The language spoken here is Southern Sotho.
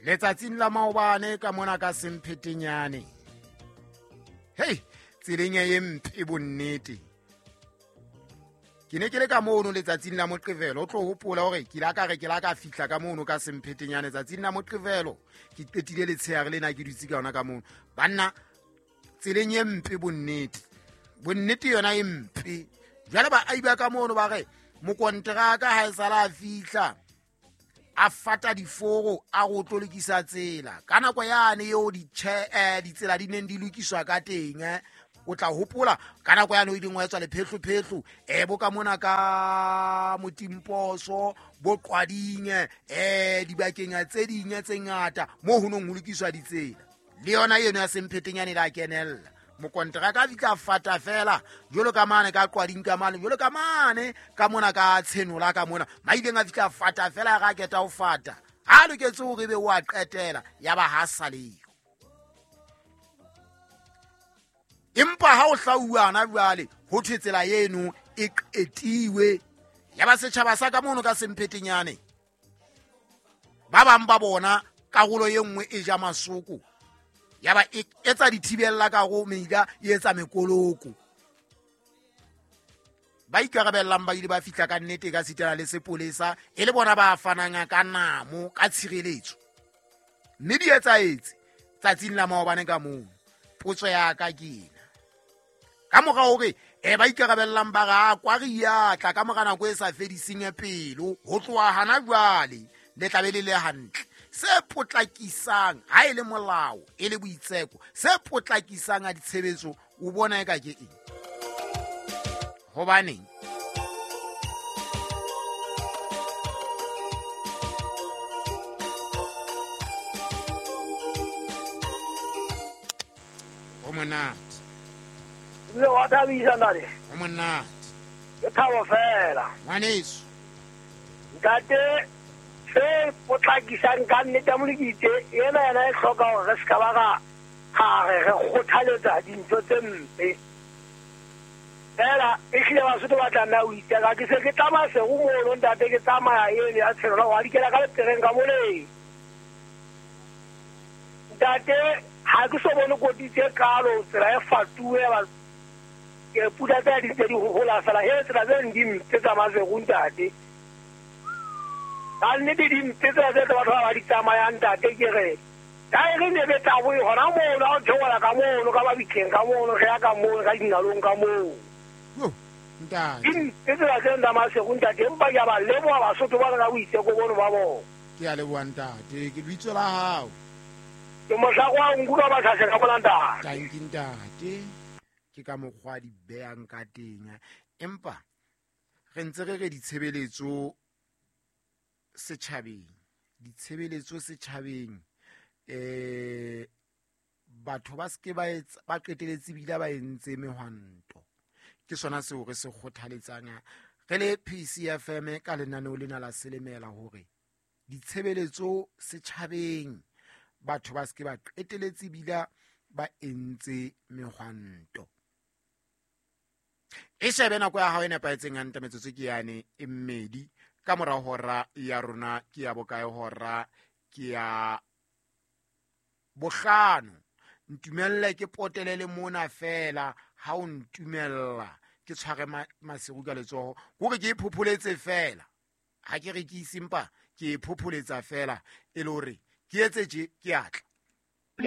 Letsatsing la maobane ka mona ka Semphetenyane, hei, tseleng e mpe bonnete. Ke ne ke le ka mono letsatsing la Moqebelo. O tlo hopola hore ke la ka re ke la ka fihla ka mono ka Semphetenyane tsatsing la Moqebelo, ke qetile letsheare lena ke dutse ka yona ka mono. Banna, tseleng e mpe bonnete, bonnete yona e mpe. Jwale baahi ba ka mono ba re mokonteraka ha e sala a fihla a fata diforo a go tlo lokisa tsela ka nako yane eo ditsela di neng di lokiswa ka teng. O tla hopola ka nako yane o ileng wa etswa lephehlophehlo bo ka mona ka Motimposo, bo Qwading, dibakeng tse ding tse ngata moo ho nong ho lokiswa ditsela. Le yona eno ya Semphetenyane la kenella, mokonteraka a fihla fata fela jwalo ka mane ka Qwading, ka mane jwalo ka mane ka mona ka Tshenola, ka mona maileng a fihla fata fela. Ga keta ho fata ha loketse hore ebe o a qetela, ya ba ha saleyo. Empa ha o hlauwana jwale ho thwe tsela eno e qetiwe, ya ba setjhaba sa ka mono ka Semphetenyane ba bang ba bona karolo e nngwe e ja masoko, ya ba e etsa dithibella ka go meila, e etsa mekoloko. Ba ikarabellang ba ile ba fihla ka nnete ka sitana le sepolesa, e le bona ba fanang ka namo ka tshireletso, mme di etsaetse tsatsing la maobane ka mono. Potso ya ka ke ena: ka mora hore ba ikarabellang ba re a kwari ya tla ka mora nako e sa fediseng pelo, ho tloha hana jwale le tlabe le le hantle, se potlakisang ha e le molao e le boitseko, se potlakisang a ditshebetso o bona e ka ke eng? Hobaneng ho monate? Ebile wa thabisa, ntate. Ho monate. Ke thabo fela. Ngwaneso. Ntate, se potlakisang ka nnete ya Molekitse ena, yena e hloka hore re se ka ba ra re re kgothaletsa dintho tse mpe fela. Ehlile Basotho ba tlameha ho itseka. Ke se ke tsamaya sego mono, ntate, ke tsamaya eno ya Tshenola wa dikela ka lepereng ka moleng, ntate, ha ke so bone kotsi tse kalo. Tsela e fatuwe ba ke pula tsa di ntse di hohola fela. He, tsela tse di mpe tsa Maseru, ntate, ka nnete di mpe tsela tse tse batho ba ba di tsamayang, ntate. Ke re taere ne be tabo e hona mono ha o theola ka mono ka mabitleng ka mono, re ya ka mono ka dinalong ka moo. Yo, ntate. Di mpe tsela tse tsa Maseru, ntate, empa ke a ba leboha Basotho ba ka boitseko bono ba bona. Ke a leboha, ntate. Ke lebitso la hao? Ke mohlako wa nku ka Batlhase ka mona, ntate. Tanki, ntate. Ke ka mokgwa di beyang ka teng, empa re ntse re re ditshebeletso setjhabeng, ditshebeletso setjhabeng, batho ba seke ba etsa, ba qeteletse bile ba entse mehwanto. Ke sona seo re se kgothaletsang re le PCFM ka lenaneo lena la Selemela, hore ditshebeletso setjhabeng batho ba seke ba qeteletse bila ba entse mehwanto. E shebe nako ya hao e nepahetseng hantle, metsotso ke yane e mmedi ka mora hora ya rona. Ke ya bokae hora? Ke ya 5. Ntumelle ke potele le mona fela, ha o ntumella ke tshware Maseru ka letsoho, hore ke e phopholetse fela. Ha ke re ke isempa, ke e phopholetsa fela e le hore ke etse tje ke atla.